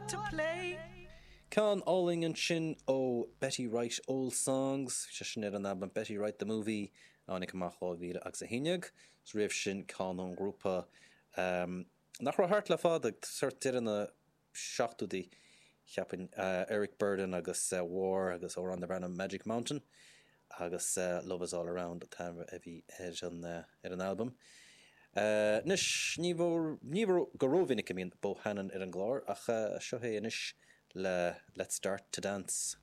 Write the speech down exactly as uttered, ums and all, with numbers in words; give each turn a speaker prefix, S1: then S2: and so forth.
S1: lot to play.
S2: Ceann álainn ansin ó Betty Wright Old Songs, sé sin ar an albam Betty Wright the Movie a tháinig amach dhá mhíle agus a haon déag, is roimh sin ceann ón ngrúpa um, nach raibh thart le fada sort deireadh na seachtóidí cheapfainn uh, Eric Burdon agus uh, War agus amhrán darb ainm Magic Mountain agus uh, Love is All Around an t-ainm a bhí ar an, uh, ar an albam. Uh, anois ní ní go rómhinic a bhíonn Bohannon ar an gclár ach uh, seo é anois le Let's Start to Dance.